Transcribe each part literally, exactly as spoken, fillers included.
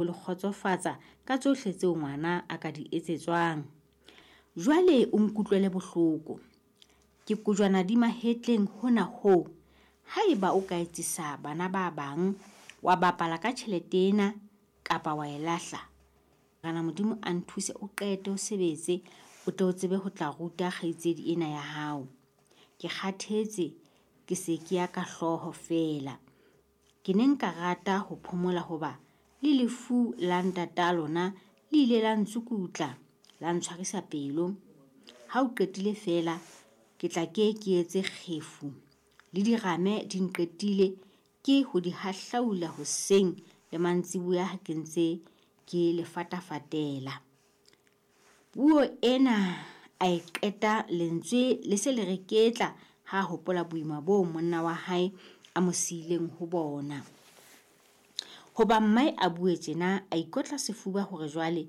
Ho le kgotsofatsa ka tsohle tseo ngwana a ka di etsetswang. Jwale o nkutlwele bohloko. Ke kojwana di mahetleng hona hoo. Haeba o ka etsisa bana ba bang, wa bapala ka tjhelete ena kapa wa e lahla, Morena Modimo a nthuse o qete o sebetse o tle o tsebe ho tla ruta kgaitsedi ena ya hao. Ke kgathetse ke se ke ya ka hlooho feela. Ke ne nka rata ho phomola hoba le lefu la ntata lona le ile la ntsukutla, la ntshwarisa pelo. Ha o qetile feela ke tla ke ke etse kgefu. Le dirame di nqetile ke ho di hahlaula hoseng le mantsiboya ha ke ntse ke le fatafatela. Puo ena a e qeta lentswe le se le reketla ha hopola boima boo monna wa hae a mo siileng ho bona. Hoba mmae a bue tjena, a ikotla sefuba hore jwale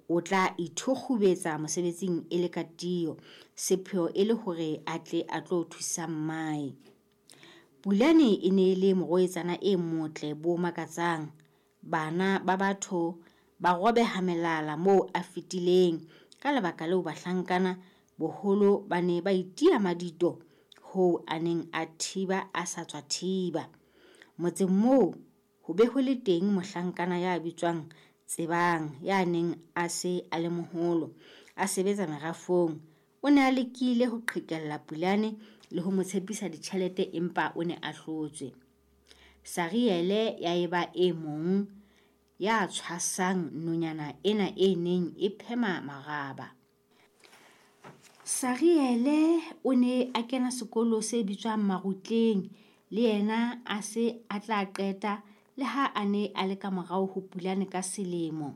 o tla ithukgubetsa mosebetsing e le ka tiyo, sepheo e le hore a tle a tlo thusa mmae. Pulane e ne e le morwetsana e motle bo makatsang. Bana ba batho ba robeha melala moo a fetileng. Ka lebaka leo bahlankana boholo ba ne ba itiya madito hoo a neng a thiba a sa tswa thiba. Motseng moo ho be ho le teng mohlankana ya bitswang Tsebang ya neng a se a le moholo, a sebetsa merafong. O ne a lekile ho qhekella Pulane le ho mo tshepisa ditjhelete empa o ne a hlotswe. Sariele ya eba e mong ya tshwasang nonyana ena e neng e phema maraba. Sariele o ne a kena sekolo se bitswang Marutleng, le yena a se a tla qeta le ha a ne a le ka morao ho Pulane ka selemo.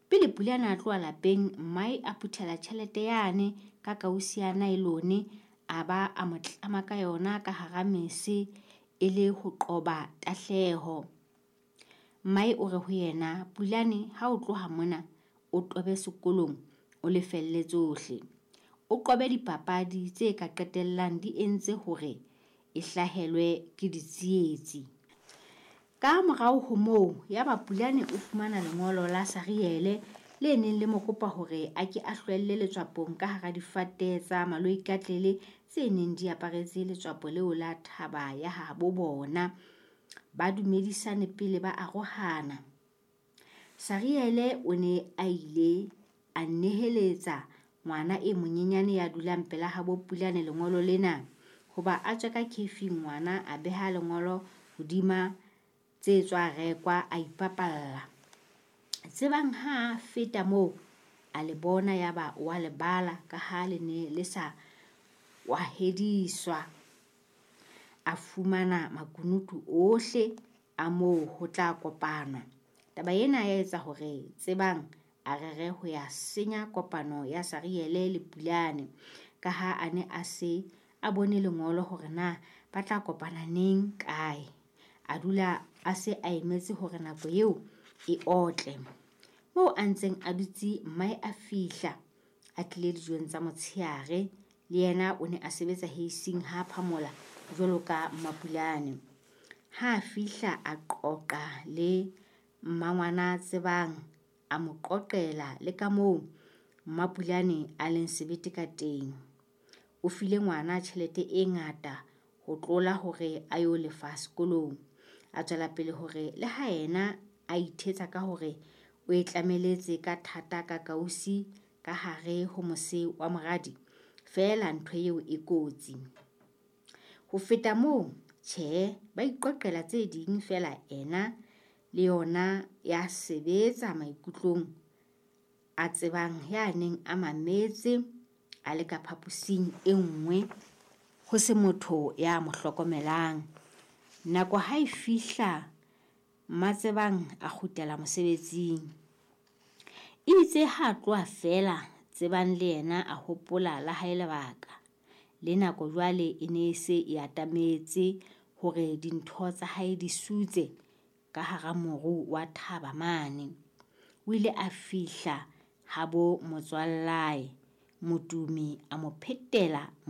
Pele Pulane a tloha lapeng, mmae a phuthela tjhelete yane ka kausi ya naelone a ba a mo tlama ka yona ka hara mese e le ho qoba tahleho. Mmae o re ho yena, Pulane ha o tloha mona o tobe sekolong o lefelle tsohle. O qobe dipapadi tse ka qetellang di entse hore e hlahelwe ke ditsietsi. Ka morao ho moo yaba Pulane o fumana lengolo la Sariele le neng le mo kopa hore a ke a hlwelle letswapong ka hara difate tsa maloikatlele tse neng di aparetse letswapo leo la thaba ya habo bona. Ba dumedisane pele ba arohana. Sariele o ne a ile a neheletsa ngwana e monyenyane ya dulang pela habo Pulane lengolo lena. Hoba a tswe ka kefing ngwana a beha lengolo hodima tse tswa rekwa a ipapalla. Tsebang ha a feta moo a le bona yaba o a le bala ka ha le ne le sa kwahediswa. A fumana makunutu ohle a moo ho tla kopanwa. Taba ena ya etsa hore Tsebang a rere ho ya senya kopano ya Sariele le Pulane ka ha a ne a se a bone lengolo hore na ba tla kopana neng kae. A dula a se a emetse hore nako eo e otle. Moo a ntseng a dutse mmae a fihla a tlile dijong tsa motsheare. Le yena o ne a sebetsa heising ha Phamola jwalo ka Mmapulane. Ha a fihla a qoqa le mmangwana Tsebang, a mo qoqela le ka moo Mmapulane a leng sebete ka teng. O file ngwana tjhelete e ngata ho tlola hore a yo lefa sekolong. A tswela pele hore le ha yena a ithetsa ka hore o e tlameletse ka thata ka kausi ka hare ho mose wa moradi, feela ntho eo e kotsi. Ho feta moo, tjhe, ba iqoqela tse ding feela ena le yona ya sebetsa maikutlong a Tsebang ya neng a mametse a le ka phaposing e nngwe ho se motho ya mo hlokomelang. Nako ha e fihla Mmatsebang a kgutlela mosebetsing. Itse ha a tloha feela Tsebang le yena a hopola la hae lebaka. Le nako jwale e ne e se e atametse hore dintho tsa hae di sutse ka hara moru wa thaba mane. O ile a fihla habo motswallae Motumi a mo phetela.